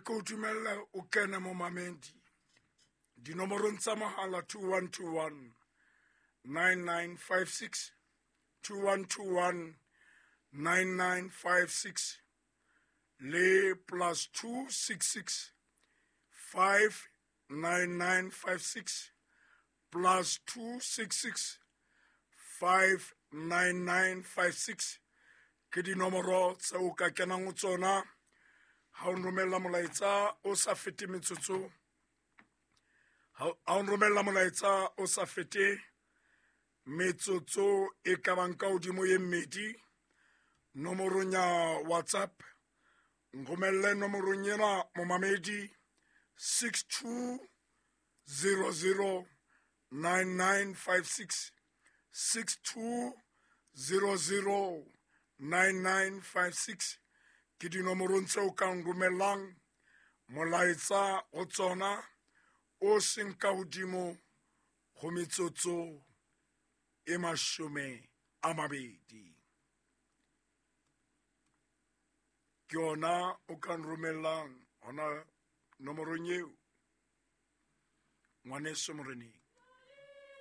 ke o dumelle o kene momamedi dinomorong tsa mohala 2121 9956, 2121 9956 le plus 266 59956, plus 266 59956 ke dinomoro tse o ka kenang ho tsona ha o nromella molaetsa o sa fete metsotso, ha o nromella molaetsa o sa fete metsotso e ka bang ka hodimo ye mmedi nomorong ya WhatsApp. Nromelle nomorong ena, momamedi, 6200 9956, 6200 9956 ke dinomorong tseo ka nromellang molaetsa ho tsona o seng ka hodimo go metsotso e 20. Ke yona o ka nromellang hona nomorong eo, ngwaneso moreneng.